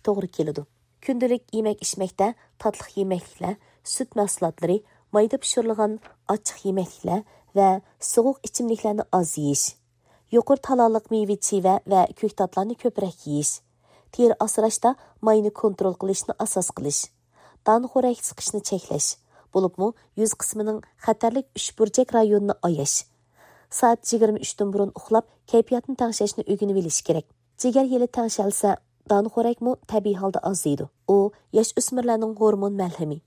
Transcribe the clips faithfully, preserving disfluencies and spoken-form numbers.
توغرا كېلىدۇ. كۈندىلىك يېمەك-ئىچمەكتە تاتلىق يېمەكلىكلەر، سۈت مەھسۇلاتلىرى، مايدا پىشۇرۇلغان ئاچچىق يېمەكلىكلەر ۋە سوغۇق ئىچىملىكلەرنى ئاز يېيىش، يۇقىرى تالالىق مېۋە-چىۋە ۋە كۆكتاتلارنى كۆپرەك يېيىش، تېرە ئاسراشتا ماينى كونترول قىلىشنى ئاساس قىلىش، دانىخورەك سىقىشنى چەكلەش، بولۇپمۇ يۈز قىسمىنىڭ خەتەرلىك ئۈچ بۇرجەك رايونىنى ئاياش، سائەت يىگىرمە ئۈچتىن بۇرۇن ئۇخلاپ، كەيپىياتنى تەڭشەشنى ئۆگىنىۋېلىش كېرەك. جىگەر يىلى تەڭشەلسە، دانىخورەكمۇ تەبىئىي ھالدا ئازىيىدۇ. ئۇ ياش ئۆسمۈرلەرنىڭ ھورمون مەلھىمى،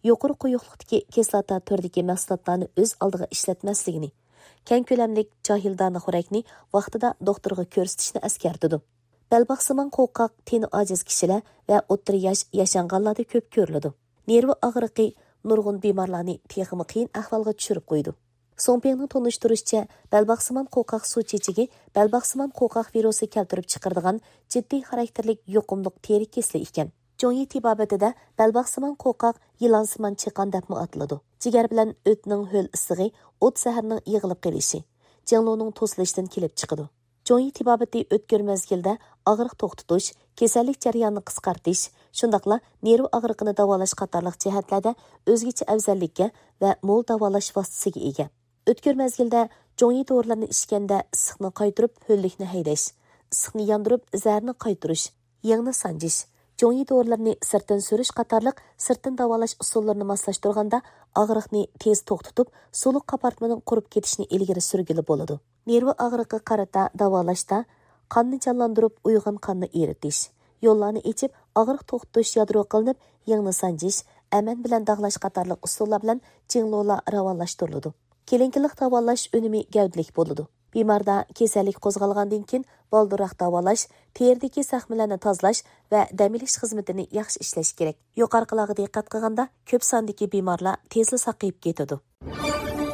يۇقىرى قويۇقلۇقتىكى كىسلاتا تۈرىدىكى مەھسۇلاتلارنى ئۆز ئالدىغا ئىشلەتمەسلىكىنى، كەڭ كۆلەملىك جاھىل دانىخورەكنى ۋاقتىدا دوختۇرغا كۆرسىتىشنى ئەسكەرتىدۇ. بەلباغسىمان قوقاق تېنى ئاجىز كىشىلەر ۋە ئوتتۇرا ياش ياشانغانلاردا كۆپ كۆرۈلىدۇ. نېرۋا ئاغرىقى نۇرغۇن بىمارلارنى تېخىمۇ قىيىن ئەھۋالغا چۈشۈرۈپ قويىدۇ. سۇڭپىڭنىڭ تونۇشتۇرۇشىچە، بەلباغسىمان قوقاق سۇ چېچىكى بەلباغسىمان قوقاق ۋىرۇسى كەلتۈرۈپ چىقىرىدىغان جىددىي خاراكتېرلىك يۇقۇملۇق تېرە كېسىلى ئىكەن. جۇڭيى تېبابىتىدە بەلباغسىمان قوقاق يىلانسىمان چېقان دەپمۇ ئاتىلىدۇ. جىگەر بىلەن ئۆتنىڭ ھۆل ئىسسىقى ئوت زەھىرىنىڭ يىغىلىپ قېلىشى، جىڭلۇنىڭ توسۇلۇشىدىن كېلىپ چىقىدۇ. جۇڭيى تېبابىتى ئۆتكۈر مەزگىلدە ئاغرىق توختىتىش، كېسەللىك جەريانىنى قىسقارتىش، شۇنداقلا نېرۋا ئاغرىقىنى داۋالاش قاتارلىق جەھەتلەردە ئۆزگىچە ئەۋزەللىككە ۋە مول داۋالاش ۋاسىتىسىگە ئىگە. ئۆتكۈر مەزگىلدە جۇڭيى دورىلىرىنى ئىچكەندە ئىسسىقنى قايتۇرۇپ، ھۆللۈكنى ھەيدەش، ئىسسىقنى ياندۇرۇپ، زەھەرنى قايتۇرۇش، يىڭنە سانجىش، جۇڭيى دورىلىرىنى سىرتتىن سۈرۈش قاتارلىق سىرتتىن داۋالاش ئۇسۇللىرىنى ماسلاشتۇرغاندا، ئاغرىقنى تېز توختىتىپ، سۇلۇق قاپارتمىنىڭ قۇرۇپ كېتىشىنى ئىلگىرى سۈرگىلى بولىدۇ. نېرۋا ئاغرىقىغا قارىتا داۋالاشتا، قاننى جانلاندۇرۇپ، ئويغان قاننى ئېرىتىش، يوللارنى ئېچىپ، ئاغرىق توختىتىش يادرو قىلىنىپ، يىڭنە سانجىش، ئەمەن بىلەن داغلاش قاتارلىق ئۇسۇللار بىلەن جىڭلۇلار راۋانلاشتۇرۇلىدۇ. كېلىنكىلىق داۋالاش ئۈنۈمى گەۋدىلىك بولىدۇ. بىماردا كېسەللىك قوزغالغاندىن كېيىن بالدۇرراق داۋالاش، تېرىدىكى زەخمىلەرنى تازىلاش ۋە دەم ئېلىش خىزمىتىنى ياخشى ئىشلەش كېرەك. يۇقىرىقىلارغا دىققەت قىلغاندا، كۆپ ساندىكى بىمارلار تېزلا ساقىيىپ كېتىدۇ.